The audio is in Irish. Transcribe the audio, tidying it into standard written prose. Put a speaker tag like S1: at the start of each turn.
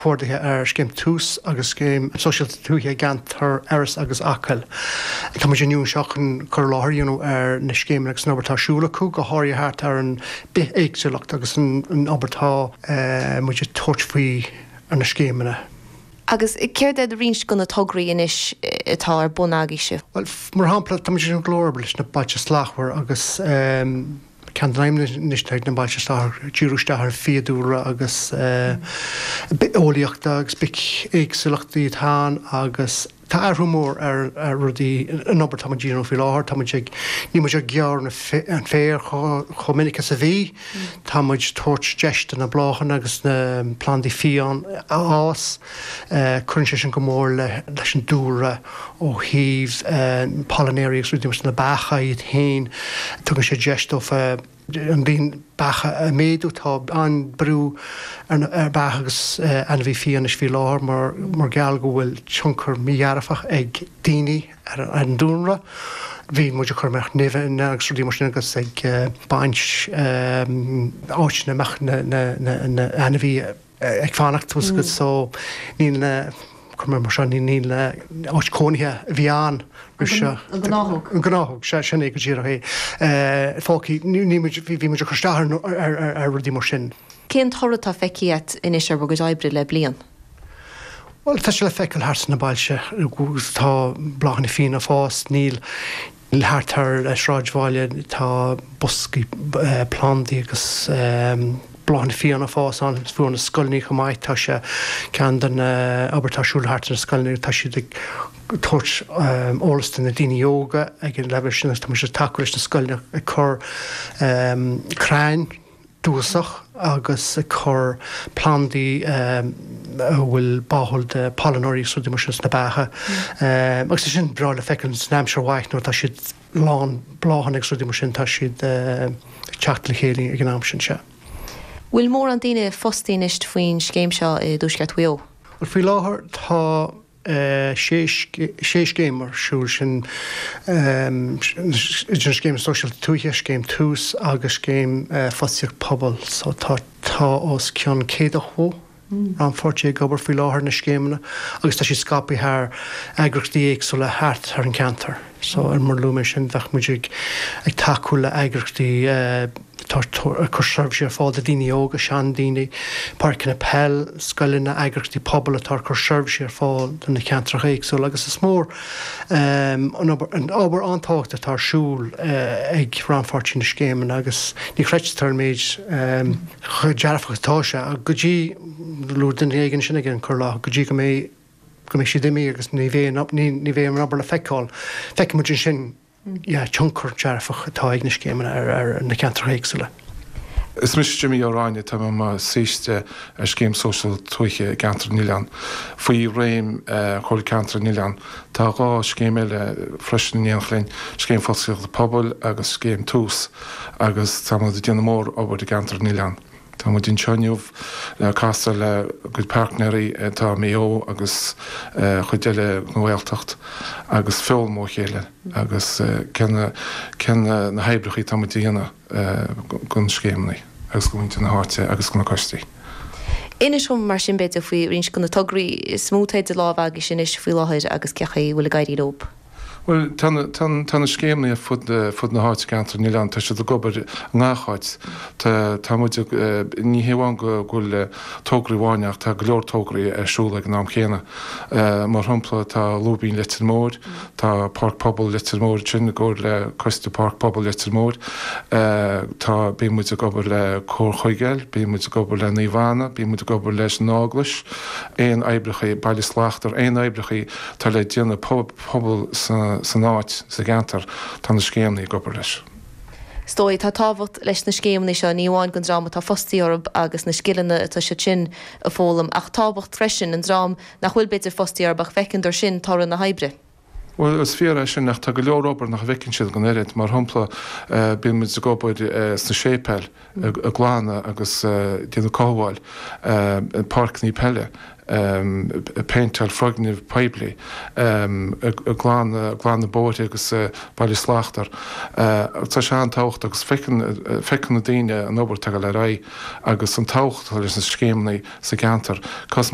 S1: Comhordaithe ar Scéim Tús agus Scéim Sóisialta Tuaithe i gceantar Iorrais agus Acaill. Tá muid inniu anseo chun cur i láthair a dhéanamh ar na scéimeanna agus an obair atá ar siúl acu, go háirithe thart ar an bithéagsúlacht agus an obair atá muid ag tabhairt faoi ar na scéimeanna.
S2: Agus céard iad roinnt de na tograí anois atá ar bun agaibhse?
S1: Bhuel, mar shampla, tá muid ag déanamh go leor oibre leis na Bailte Slachtmhara agus. Ceann de na haidhmeanna anois atá ag na Bailte Slachtmhara díriú isteach ar an bhfiadhúlra agus bitheolaíochta agus bithéagsúlachtaí atá ann agus tá athrú mór ar rudaí, an obair atá muid a dhéanamh faoi láthair, tá muid ag, níl muid ag gearradh an féir chomh minic is a bhí, tá muid ag tabhairt deis do na bláthanna agus na plandaí fiáin a fhás. Cuireann sé sin go mór leis an dúlra ó thaobh pailneoirí agus rudaí mar sin, na beacha iad féin, tugann sé deis dófa an líon beacha a mhéadú. Tá an-brú ar beacha agus ainmhí fiáin anois faoi láthair mar gheall go bhfuil tionchar mídhearfach ag daoine ar an dúlra. Bhí muid ag cur amach nimhe agus rudaí mar sin agus ag baint áiteanna a mbeadh na ainmhithe ag fanacht tá a fhios agat so níl na, cuir mar seo, níl na áit cónaithe a bhí ann roimh seo.
S2: An gnáthóg.
S1: An gnáthóg, sea, sin é go díreach é. Fágtha, níl muid, bhí muid ag cur isteach ar rudaí mar sin.
S2: Cén toradh atá feicthe agat anois ar bhur gcuid oibre le bliain?
S1: Bhuel, tá sé le feiceáil thart sna bailte, tá bláthanna fiáine ag fás, níl, Thart ar an sráidbhaile tá boscaí plandaí agus bláthanna fiáine ag fás ann. Fiú na scoileanna chomh maith, tá sé ceann den obair atá ar siúl thart ar na scoileanna, tá siad ag tabhairt eolas do na daoine óga ag an leibhéal sin agus tá muid ag tacú leis na scoileanna ag cur crainn dúchasach agus ag cur plandaí a bhfuil báúil do pailneoirí agus rudaí mar sin sna beacha. Agus tá sin breá le feiceáil san aimsir mhaith nuair atá siad lán bláthanna agus rudaí mar sin, tá siad ag teacht le chéile ag an am sin, sea.
S2: Bhfuil mórán daoine fostaithe anois faoin scéim seo i dTuaisceart Mhaigh Eo?
S1: Bhuel, faoi láthair tá sé scéim ar siúl, sin idir an Scéim Sóisialta Tuaithe, Scéim Tús agus Scéim Fostaíocht Pobail. So tá tá os cionn 180 rannpháirtí ag obair faoi láthair na scéimeanna agus tá siad scaipthe thar eagraíochtaí éagsúla thart thar an ceantar. So mar a luaigh mé sin bheadh muid ag ag tacú le eagraíochtaí atá ag cur seirbhísí ar fáil do daoine óga, seandaoine, páirceanna peil, scoileanna, eagraíochtaí pobail atá ag cur seirbhísí ar fáil do na ceantracha éagsúla agus is mór an obair an-tábhachtach atá ar siúl ag rannpháirtí na scéimeanna agus ní chreidtear an méid chomh dearfach atá sé go dtí, luaigh duine éigin sin ag an cur i láthair, go dtí go mbeidh go mbeidh siad imithe agus ní bheidh ní bheidh an obair le feiceáil. Feicfidh muid ansin yeah, tionchar dearfach atá ag na scéimeanna ar na ceantracha éagsúla.
S3: Is mise Jimmy Ó Ráinne, tá mé i mo shaoiste ar Scéim Sóisialta Tuaithe i gCeantar na nOileán. Faoi réim Chomhairle Ceantair na nOileán. Tá 2 scéim eile freisin in éineacht linn, Scéim Fostaíochta Pobail agus Scéim Tús agus tá muid ag déanamh mór obair i gCeantar na nOileán. Tá muid anseo inniu le casadh le cuid páirtnéirí atá i Maigh Eo agus chuid eile den Ghaeltacht agus foghlaim ó chéile agus cé na cé na hoibreacha atá muid a dhéanamh don scéimeanna agus do mhuintir na háite agus do na coistí.
S2: Inis dom mar sin b'fhéidir faoi roinnt de na tograí is mó atá idir lámha agaibhse anois faoi láthair agus cén chaoi a bhfuil ag éirí leo.
S3: Bhuel, tá na, tá, tá na scéimeanna ar fud, fud na háite i gCeantar na nOileán, tá siad ag obair i ngach áit. Tá, tá muid ag, ní hé amháin go, go bhfuil tograí amháin ach tá go leor tograí ar siúl ag an am chéanna. Mar shampla, tá Lúibín Leitir Móir, tá Páirc Pobail Leitir Móir ansin i gcomhar le Coiste Páirc Pobail Leitir Móir. Tá, bíonn muid ag obair le Comhar Chuigéil, bíonn muid ag obair le Naomh Anna, bíonn muid ag obair leis an Eaglais, aon oibreacha, Baile Slachtmhar, aon oibreacha atá le déanamh pobal san áit, sa gceantar, tá na scéimeanna ag obair leis.
S2: Is dóigh, tá tábhacht leis na scéimeanna seo, ní amháin don dream atá fostaithe orthu agus na scileanna atá siad sin a foghlaim, ach tábhacht freisin an dream nach bhfuil b'fhéidir fostaithe orthu ach feiceann sin toradh na hoibre.
S3: Bhuel, is fíor é sin, ach tá go leor obair nach bhfeiceann siad an oiread. Mar shampla, bíonn muid ag obair sna séipéil, ag glanadh agus déanamh cothabháil, páirceanna peile. Ag péinteáil foirgnimh poiblí, ag glanadh bóithre agus Baile Slachtmhar. Tá sé an-tábhachtach agus feiceann na daoine an obair atá ag dul ar aghaidh agus an tábhacht atá leis na scéimeanna sa gceantar. Cos.